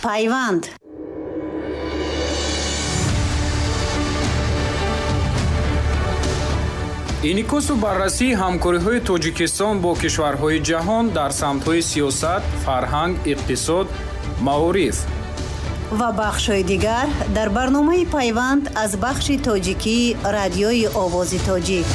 Пайванд. Инъикосу баррасии ҳамкориҳои Тоҷикистон бо кишварҳои ҷаҳон дар самтҳои сиёсат, фарҳанг, иқтисод, маориф ва бахшҳои дигар дар барномаи Пайванд аз бахши тоҷикии Радиои Овози Тоҷик.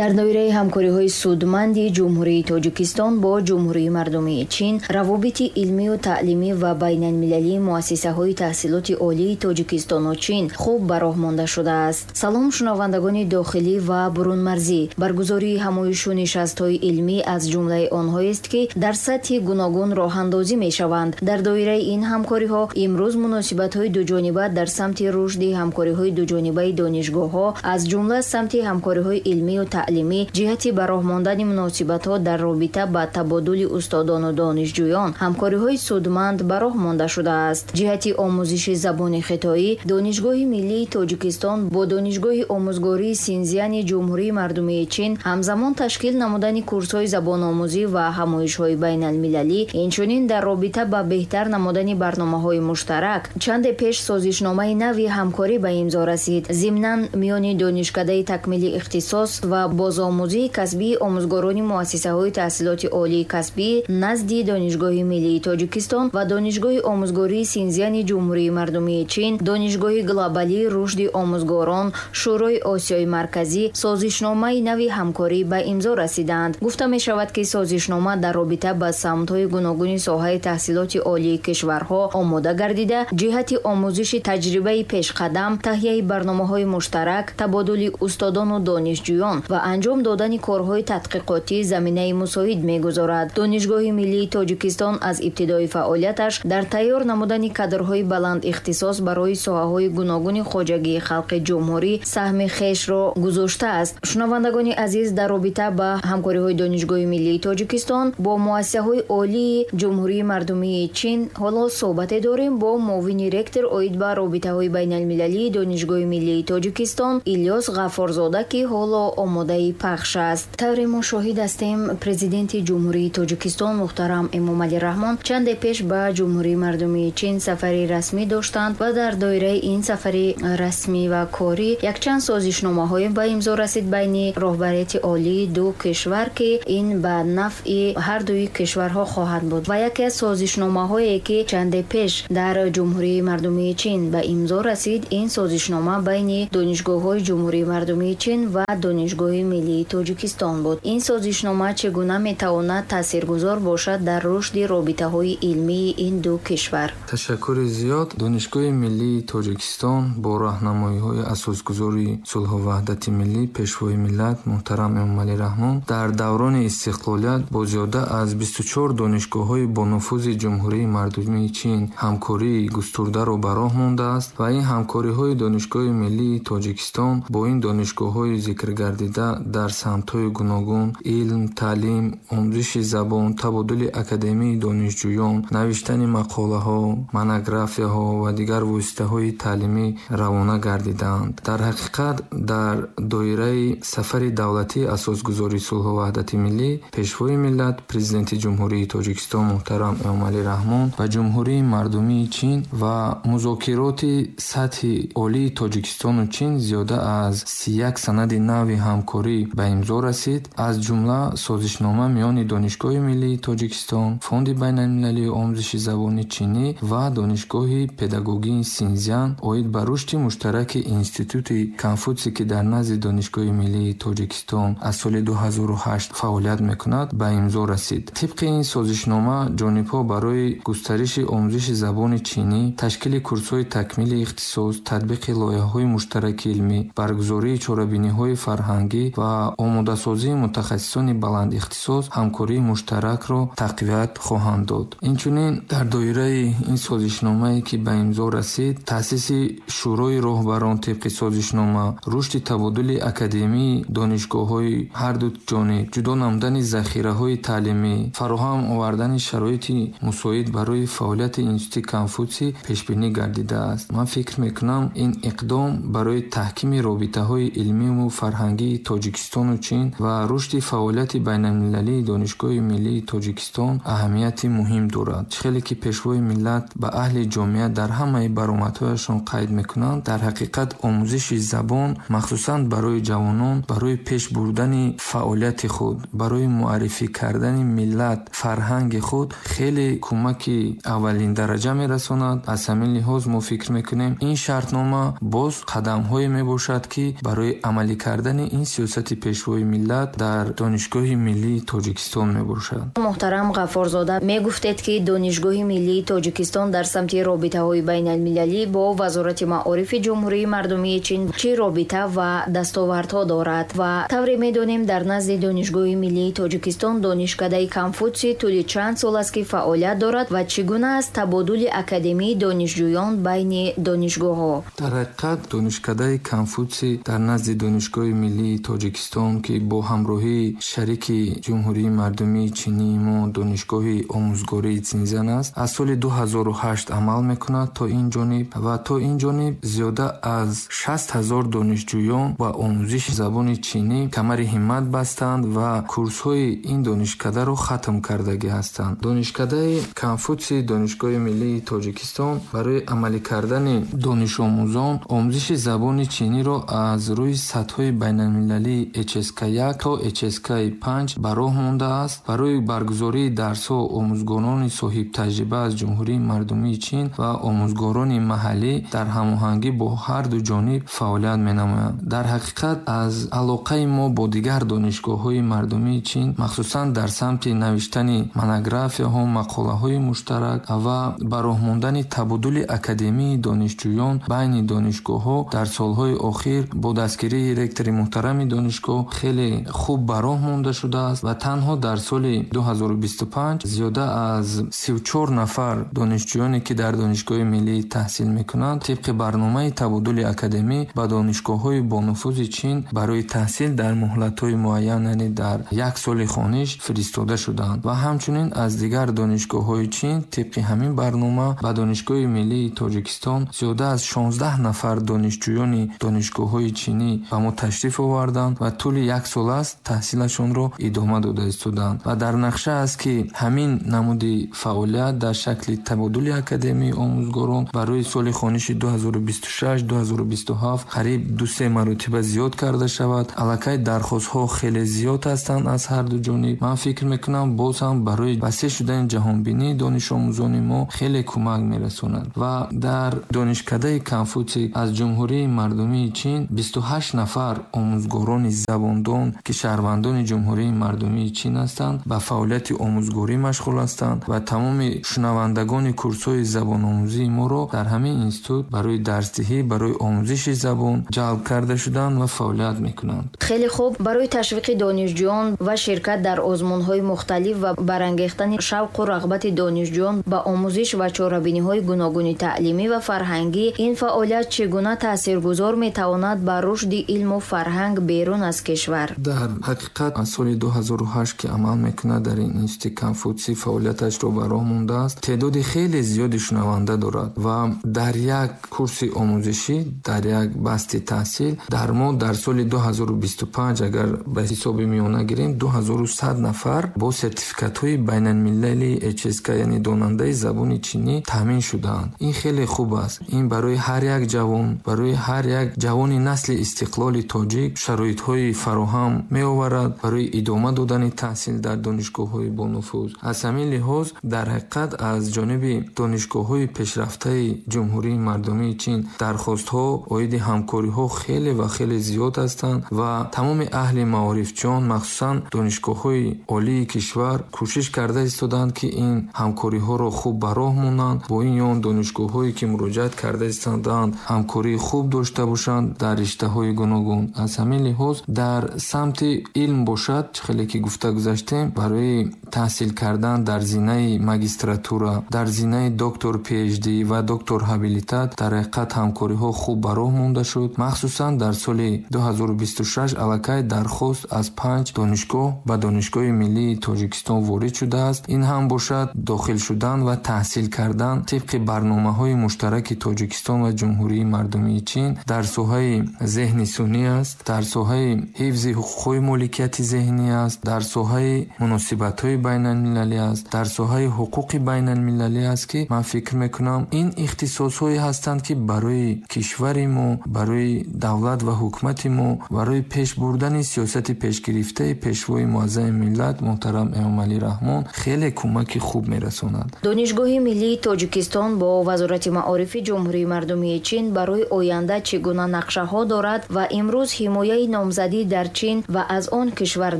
Дар доираи ҳамкориҳои судманди Ҷумҳурии Тоҷикистон бо Ҷумҳурии Мардумии Чин, равобити илмию таълимӣ ва байналмилалии муассисаҳои таҳсилоти олии Тоҷикистону Чин хуб ба роҳ монда шудааст. Салом, шунавандагони дохилӣ ва бурунмарзӣ. Баргузории ҳамоишу нишастҳои илмӣ аз ҷумлаи онҳоест, ки дар сатҳи гуногун роҳандозӣ мешаванд. Дар доираи ин ҳамкориҳо имрӯз муносибатҳои дуҷониба дар самти рушди ҳамкориҳои дуҷонибаи донишгоҳҳо, аз ҷумла самти ҳамкориҳои илмию таълимӣ, ҷиҳати ба роҳ мондани муносибатҳо дар робита ба табодули устодону донишҷӯён ҳамкориҳои судманд ба роҳ монда шудааст. Ҷиҳати омӯзиши забони хитоӣ Донишгоҳи миллии Тоҷикистон бо Донишгоҳи омӯзгории Синзяни Ҷумҳурии Мардумии Чин ҳамзамон ташкил намудани курсҳои забономӯзӣ ва ҳамоишҳои байналмилалӣ, инчунин дар робита ба беҳтар намудани барномаҳои муштарак чанде пеш созишномаи нави ҳамкорӣ ба имзо расид. Зимнан миёни Донишкадаи такмили ихтисос ва бозомӯзии касбии омӯзгорони муассисаҳои таҳсилоти олии касбӣ назди Донишгоҳи миллии Тоҷикистон ва Донишгоҳи омӯзгории Синзяни Ҷумҳурии Мардумии Чин, Донишгоҳи глобалии рушди омӯзгорон, Шӯрои Осиёи Марказӣ созишномаи нави ҳамкорӣ ба имзо расиданд. Гуфта мешавад, ки созишнома дар робита ба самтҳои гуногуни соҳаи таҳсилоти олии кишварҳо омода гардида, ҷиҳати омӯзиши таҷрибаи пешқадам, таҳияи барномаҳои муштарак, табодули устодону донишҷӯён ва анҷом додани корҳои тадқиқотӣ заминаи мусоид мегузорад. Донишгоҳи миллии Тоҷикистон аз ибтидои фаъолияташ дар тайёр намудани кадрҳои баланд ихтисос барои соҳаҳои гуногуни хоҷагии халқи ҷумҳурӣ саҳми хешро гузоштааст. Шунавандагони азиз, дар робита ба ҳамкориҳои Донишгоҳи миллии Тоҷикистон бо муассисаҳои олии Ҷумҳурии Мардумии Чин ҳоло суҳбате дорем бо муовини ректор оид ба робитаҳои байналмилалии Донишгоҳи миллии Тоҷикистон Илёс Ғаффорзода, ки ҳоло омодаи пахш аст. Тавре мо шоҳид ҳастем, президенти Ҷумҳурии Тоҷикистон муҳтарам Эмомалӣ Раҳмон чанде пеш ба Ҷумҳурии Мардумии Чин сафари расмӣ доштанд ва дар доираи ин сафари расмӣ ва корӣ якчанд созишномаҳое ба имзо расид байни роҳбарияти олии ду кишвар, ки ин ба нафъи ҳардуи кишварҳо хоҳад буд. Ва яке аз созишномаҳое, ки чанде пеш дар Ҷумҳурии Мардумии Чин ба имзо расид, ин созишнома байни донишгоҳҳои Ҷумҳурии Мардумии Чин ва Донишгоҳи миллии Тоҷикистон буд. Ин созишнома чӣ гуна метавонад таъсиргузор бошад дар рушди робитаҳои илмии ин ду кишвар? Ташаккури зиёд. Донишгоҳи миллии Тоҷикистон бо роҳнамоиҳои асосгузори сулҳу ваҳдати миллӣ, пешвои миллат муҳтарам Эмомалӣ Раҳмон дар даврони истиқлолият бо зиёда аз 24 донишгоҳҳои бонуфузи Ҷумҳурии Мардумии Чин ҳамкории густурдаро ба роҳ мондааст ва ин ҳамкориҳои Донишгоҳи миллии Тоҷикистон бо ин донишгоҳҳои зикргардида дар самтҳои гуногун илм, таълим, омӯзиши забон, табодули академии донишҷӯён, навиштани мақолаҳо, монографияҳо ва дигар воситаҳои таълимӣ равона гардидаанд. Дар ҳақиқат, дар доираи сафари давлатии асосгузори сулҳу ваҳдати миллӣ, пешвои миллат, президенти Ҷумҳурии Тоҷикистон муҳтарам Эмомалӣ Раҳмон ба Ҷумҳурии Мардумии Чин ва музокироти сатҳи олии Тоҷикистону Чин зиёда аз 31 санади нави ҳамкорӣ ба имзо расид, аз ҷумла созишнома миёни Донишгоҳи миллии Тоҷикистон, Фонди байналмилалии омӯзиши забони чинӣ ва Донишгоҳи педагогии Синзян оид ба рушди муштараки Институти Конфутсий, ки дар назди Донишгоҳи миллии Тоҷикистон аз соли 2008 фаъолият мекунад, ба имзо расид. Тибқи ин созишнома ҷонибҳо барои густариши омӯзиши забони чинӣ, ташкили курсҳои такмили ихтисос, татбиқи лоиҳаҳои муштараки илмӣ, баргузории чорабиниҳои фарҳангӣ ва омодасозии мутахассисони баландихтисос ҳамкории муштаракро тақвият хоҳанд дод. Инчунин дар доираи ин созишномае, ки ба имзо расид, таъсиси Шӯрои роҳбарон тибқи созишнома, рушди табодули академии донишгоҳҳои ҳарду ҷониб, ҷудо намудани захираҳои таълимӣ, фароҳам овардани шароити мусоид барои фаъолияти Институти Конфутсий пешбинӣ гардидааст. Ман фикр мекунам, ин иқдом барои таҳкими робитаҳои илмиву фарҳангии Тоҷикистону Чин ва рушди фаъолияти байналмилалии Донишгоҳи миллии Тоҷикистон аҳамияти муҳим дорад. Чӣ хеле ки Пешвои миллат ба аҳли ҷомеа дар ҳамаи баромадҳояшон қайд мекунанд, дар ҳақиқат омӯзиши забон махсусан барои ҷавонон, барои пеш бурдани фаъолияти худ, барои муаррифӣ кардани миллат, фарҳанги худ хеле кӯмаки аввалин дараҷа мерасонад. Аз ҳамин лиҳоз мо фикр мекунем, ин шартнома боз қадамҳое мебошад, ки барои амалӣ кардани ин сиёсати Пешвои миллат дар Донишгоҳи миллии Тоҷикистон мебошад. Муҳтарам Ғаффорзода, мегуфтед, ки Донишгоҳи миллии Тоҷикистон дар самти робитаҳои байналмилалӣ бо Вазорати маорифи Ҷумҳурии Мардумии Чин чӣ робита ва дастовардҳо дорад? Ва тавре медонем, дар назди Донишгоҳи миллии Тоҷикистон Донишкадаи Конфутсий тӯли чанд сол аст, ки фаъолият дорад ва чӣ гуна аст табодули академии донишҷӯён байни донишгоҳҳо? Дар ҳақиқат Донишкадаи Конфутсий дар назди Донишгоҳи миллии Тоҷикистон, ки бо ҳамроҳии шарики Ҷумҳурии Мардумии Чинии мо Донишгоҳи омӯзгории Цинзян аст, аз соли 2008 амал мекунад то ин ҷониб ва то ин ҷониб зиёда аз 60 ҳазор донишҷӯён ба омӯзиши забони чинӣ камари ҳиммат бастанд ва курсҳои ин донишкадаро хатм кардагӣ ҳастанд. Донишкадаи Конфутсий Донишгоҳи миллии Тоҷикистон барои амалӣ кардани донишомӯзон омӯзиши забони чиниро аз рӯи сатҳҳои байналмилалии HSK1 то HSK5 ба роҳ мондааст. Барои баргузории дарсҳо омӯзгорони соҳибтаҷриба аз Ҷумҳурии Мардумии Чин ва омӯзгорони маҳаллӣ дар ҳамоҳангӣ бо ҳар ду ҷониб фаъолият менамоянд. Дар ҳақиқат аз алоқаи мо бо дигар донишгоҳҳои мардумии Чин, махсусан дар самти навиштани монографияҳо, мақолаҳои муштарак ва ба роҳ мондани табодули академии донишҷӯён байни донишгоҳҳо дар солҳои охир бо дастгирии ректори муҳтарами донишгоҳ хеле хуб ба роҳ монда шудааст ва танҳо дар соли 2025 зиёда аз 34 нафар донишҷӯёне, ки дар Донишгоҳи миллӣ таҳсил мекунанд, тибқи барномаи табодули академӣ ба донишгоҳҳои бонуфузи Чин барои таҳсил дар муҳлатҳои муайян, яъне дар як соли хониш фиристода шуданд ва ҳамчунин аз дигар донишгоҳҳои Чин тибқи ҳамин барнома ба Донишгоҳи миллии Тоҷикистон зиёда аз 16 нафар донишҷӯёни донишгоҳҳои чинӣ ба мо ташриф оварданд ва тӯли як сол аст таҳсилашонро идома дода истодаанд ва дар нақша аст, ки ҳамин намуди фаъолият дар шакли табодули академии омӯзгорон барои соли хониши 2026-2027 қариб 2-3 маротиба зиёд карда шавад. Аллакай дархостҳо хеле зиёд ҳастанд аз ҳар ду ҷониб. Ман фикр мекунам, боз ҳам барои васеъ шудани ҷаҳонбинии донишомӯзони мо хеле кӯмак мерасонад. Ва дар Донишкадаи Конфутсий аз Ҷумҳурии Мардумии Чин 28 нафар омӯзгорони забондон, ки шаҳрвандони Ҷумҳурии Мардумии Чин ҳастанд, ба фаъолияти омӯзгорӣ машғул ҳастанд ва тамоми шунавандагони курсҳои забономӯзии моро дар ҳамин институт барои дарсдиҳӣ, барои омӯзиши забон ҷалб карда шуданд ва фаъолият мекунанд. Хеле хуб. Барои ташвиқи донишҷӯён ва ширкат дар озмунҳои мухталиф ва барангехтани шавқу рағбати донишҷӯён ба омӯзиш ва чорабиниҳои гуногуни таълимӣ ва фарҳангӣ, ин фаъолият чӣ гуна таъсиргузор метавонад ба рушди илму фарҳанг берун аз кишвар? Дар ҳақиқат аз соли 2008, ки амал мекунад, дар ин институти Конфутсий фаъолияташро ба роҳ мондааст, теъдоди хеле зиёди шунаванда дорад ва дар як курси омӯзишӣ, дар як басти таҳсил дар мо дар соли 2025, агар ба ҳисоби миёна гирем, 2100 нафар бо сертификатҳои байналмилалии HSK, яъне донандаи забони чинӣ, таъмин шудаанд. Ин хеле хуб аст. Ин барои ҳар як ҷавон, барои ҳар як ҷавони насли истиқлоли тоҷик шароитҳои фароҳам меоварад барои идома додани таҳсил дар донишгоҳҳои бонуфуз. Аз ҳамин лиҳоз дар ҳақиқат аз ҷониби донишгоҳҳои пешрафтаи Ҷумҳурии Мардумии Чин дархостҳо оиди ҳамкориҳо хеле ва хеле зиёд ҳастанд ва тамоми аҳли маорифчиён, махсусан донишгоҳҳои олии кишвар, кӯшиш карда истодаанд, ки ин ҳамкориҳоро хуб ба роҳ монанд, бо ин ё он донишгоҳҳое, ки муроҷиат карда истодаанд, ҳамкории хуб дошта бошанд дар риштаҳои гуногун. Аз ҳамин лиҳоз дар самти илм бошад, чӣ хеле ки гуфта гузаштем, барои таҳсил кардан дар зинаи магистратура, дар зинаи доктор PhD ва доктор ҳабилитат дар ҳақиқат ҳамкориҳо хуб ба роҳ монда шуд. Махсусан дар соли 2026 аллакай дархост аз 5 донишгоҳ ба Донишгоҳи миллии Тоҷикистон ворид шудааст. Ин ҳам бошад дохил шудан ва таҳсил кардан тибқи барномаҳои муштараки Тоҷикистон ва Ҷумҳурии Мардумии Чин дар соҳаи зеҳни сунъӣ аст, дар соҳаи Соҳаи ҳифзи ҳуқуқҳои моликияти зеҳнӣ аст, дар соҳаи муносибатҳои байналмилалӣ аст, дар соҳаи ҳуқуқи байналмилалӣ аст, ки ман фикр мекунам, ин ихтисосҳое ҳастанд, ки барои кишвари мо, барои давлат ва ҳукумати мо, барои пеш бурдани сиёсати пешгирифтаи Пешвои муаззами миллат муҳтарам Эмомалӣ Раҳмон хеле кӯмаки хуб мерасонад. Донишгоҳи миллии Тоҷикистон бо Вазорати маорифи Ҷумҳурии Мардумии Чин барои оянда чӣ гуна нақшаҳо дорад ва имрӯз ҳимояи номзадӣ дар Чин ва аз он кишвар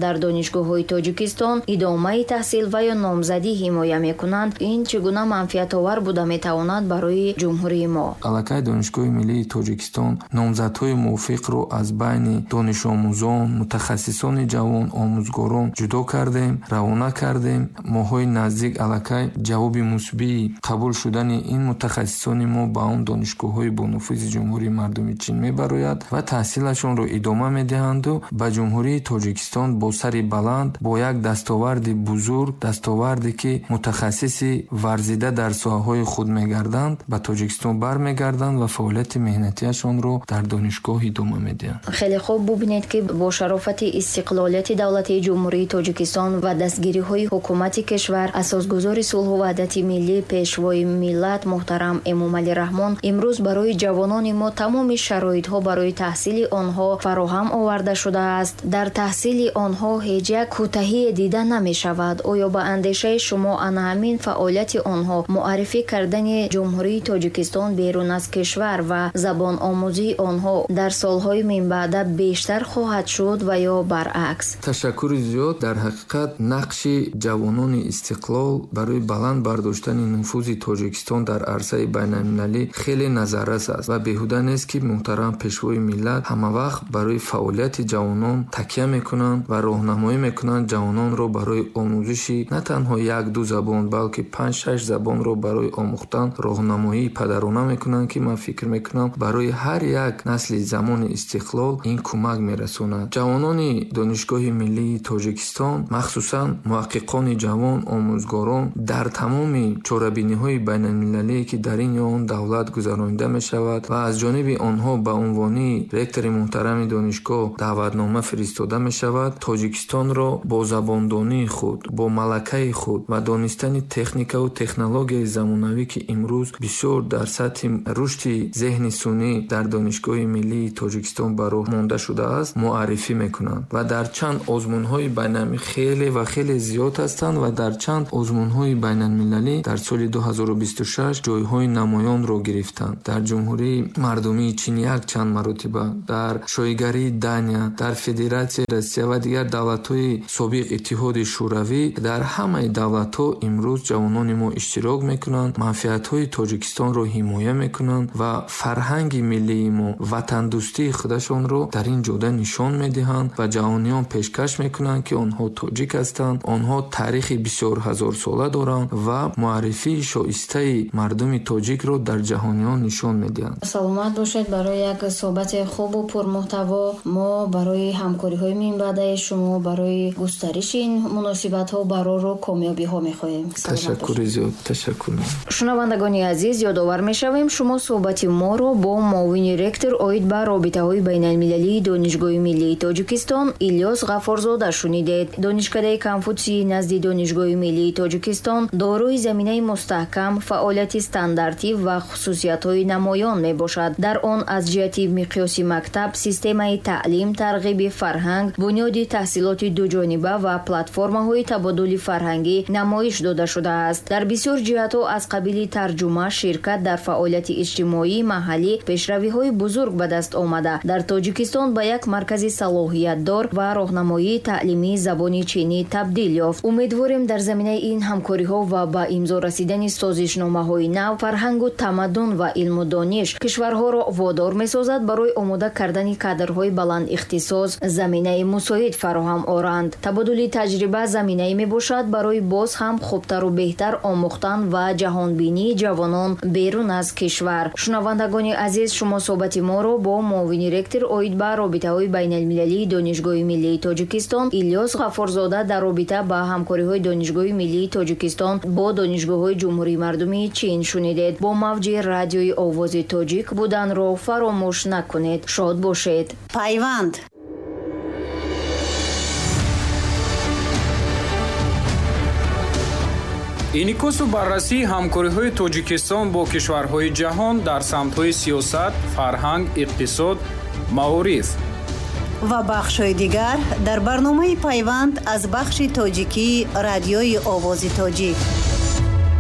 дар донишгоҳҳои Тоҷикистон идомаи таҳсил ва ё номзадӣ ҳимоя мекунанд, ин чӣ гуна манфиатовар буда метавонад барои ҷумҳурии мо? Аллакай Донишгоҳи миллии Тоҷикистон номзадҳои мувофиқро аз байни донишомӯзон, мутахассисони ҷавон, омӯзгорон ҷудо кардем, равона кардем. Моҳҳои наздик аллакай ҷавоби мусбии қабул шудани ин мутахассисони мо ба он донишгоҳҳои бонуфузи Ҷумҳурии Мардумии Чин мебарояд ва таҳсилашонро идома медиҳанду ба Ҷумҳурии Тоҷикистон бо сари баланд, бо як дастоварди бузург, дастоварде ки мутахассиси варзида дар соҳаҳои худ мегарданд, ба Тоҷикистон бармегарданд ва фаъолияти меҳнатиашонро дар донишгоҳ идома медиҳанд. Хеле хуб, бубинед, ки бо шарофати истиқлолияти давлатии Ҷумҳурии Тоҷикистон ва дастгириҳои ҳукумати кишвар, асосгузори сулҳу ваҳдати миллӣ, Пешвои миллат муҳтарам Эмомалӣ Раҳмон имрӯз барои ҷавонони мо тамоми шароитҳо барои таҳсили онҳо фароҳам оварда шудааст. Дар таҳсили онҳо ҳеҷ як кӯтаҳие дида намешавад. Оё ба андешаи шумо ана ҳамин фаъолияти онҳо, муаррифӣ кардани Ҷумҳурии Тоҷикистон берун аз кишвар ва забономӯзии онҳо дар солҳои минбаъда бештар хоҳад шуд ва ё баръакс? Ташаккури зиёд. Дар ҳақиқат нақши ҷавонони истиқлол барои баланд бардоштани нуфузи Тоҷикистон дар арсаи байналмилалӣ хеле назаррас аст ва беҳуда нест, ки муҳтарам Пешвои миллат ҳамавақт барои фаъолияти ҷавонон такя мекунанд ва роҳнамоӣ мекунанд ҷавононро барои омӯзиши на танҳо як-ду забон, балки 5-6 забонро барои омӯхтан роҳнамоии падарона мекунанд, ки ман фикр мекунам, барои ҳар як насли замони истиқлол ин кӯмак мерасонад. Ҷавонони Донишгоҳи миллии Тоҷикистон, махсусан муҳаққиқони ҷавон, омӯзгорон дар тамоми чорабиниҳои байналмилалие, ки дар ин ё он давлат гузаронида мешавад ва аз ҷониби онҳо ба унвони ректори муҳтарами донишгоҳ даъватнома фиристода мешавад, Тоҷикистонро бо забондонии худ, бо малакаи худ ва донистани техникаву технологияи замонавӣ, ки имрӯз бисёр дар сатҳи рушди зеҳни сунъӣ дар Донишгоҳи миллии Тоҷикистон ба роҳ монда шудааст, муаррифӣ мекунанд ва дар чанд озмунҳои байналмилалӣ хеле ва хеле зиёд ҳастанд ва дар чанд озмунҳои байналмилалӣ дар соли 2026 ҷойҳои намоёнро гирифтанд. Дар Ҷумҳурии Мардумии Чин як чанд маротиба, дар Шоҳигарии Дания, дар Федератсияи Россия ва дигар давлатҳои собиқ Иттиҳоди Шӯравӣ, дар ҳамаи давлатҳо имрӯз ҷавонони мо иштирок мекунанд, манфиатҳои Тоҷикистонро ҳимоя мекунанд ва фарҳанги миллии мо, ватандӯстии худашонро дар ин ҷода нишон медиҳанд ва ҷаҳониён пешкаш мекунанд, ки онҳо тоҷик ҳастанд, онҳо таърихи бисёр ҳазорсола доранд ва муаррифии шоистаи мардуми тоҷикро дар ҷаҳониён нишон медиҳанд. Саломат бошед барои як суҳбати хубу пурмуҳтаво. Мо барои ҳамкориҳои минбаъдаи шумо, барои густариши ин муносибатҳо барору комёбиҳо мехоҳем. Ташаккури зиёд, ташаккур. Шунавандагони азиз, ёдовар мешавем, шумо суҳбати моро бо муовини ректор оид ба робитаҳои байналмилалии Донишгоҳи миллии Тоҷикистон Илёс Ғаффорзода шунидед. Донишкадаи Конфутсии назди Донишгоҳи миллии Тоҷикистон дорои заминаи мустаҳкам, фаъолияти стандартӣ ва хусусиятҳои намоён мебошад. Дар он аз ҷиҳати миқёси мактаб, системаи таълим, тарғиби фарҳанг, бунёди таҳсилоти дуҷониба ва платформаҳои табодули фарҳангӣ намоиш дода шудааст. Дар бисёр ҷиҳатҳо аз қабили тарҷума, ширкат дар фаъолияти иҷтимоии маҳаллӣ пешравиҳои бузург ба даст омада, дар Тоҷикистон ба як маркази салоҳиятдор ва роҳнамоии таълимии забони чинӣ табдил ёфт. Умедворем, дар заминаи ин ҳамкориҳо ва ба имзо расидани созишномаҳои нав, фарҳангу тамаддун ва илму дониш кишварҳоро водор месозад барои омода кардани кадрҳои баландихтисос заминаи мусоид фароҳам оранд. Табодули таҷриба заминае мебошад барои боз ҳам хубтару беҳтар омӯхтан ва ҷаҳонбинии ҷавонон берун аз кишвар. Шунавандагони азиз, шумо суҳбати моро бо муовини ректор оид ба робитаҳои байналмилалии Донишгоҳи миллии Тоҷикистон Илёс Ғаффорзода дар робита ба ҳамкориҳои Донишгоҳи миллии Тоҷикистон бо донишгоҳҳои Ҷумҳурии Мардумии Чин шунидед. Бо мавҷи радиои Овози Тоҷик буданро фаромӯш накунед. Шод бошед. Пайванд. Инъикосу баррасии ҳамкориҳои Тоҷикистон бо кишварҳои ҷаҳон дар самтҳои сиёсат, фарҳанг, иқтисод, маориф ва бахшҳои дигар дар барномаи «Пайванд» аз бахши тоҷикии Радиои Овози Тоҷик.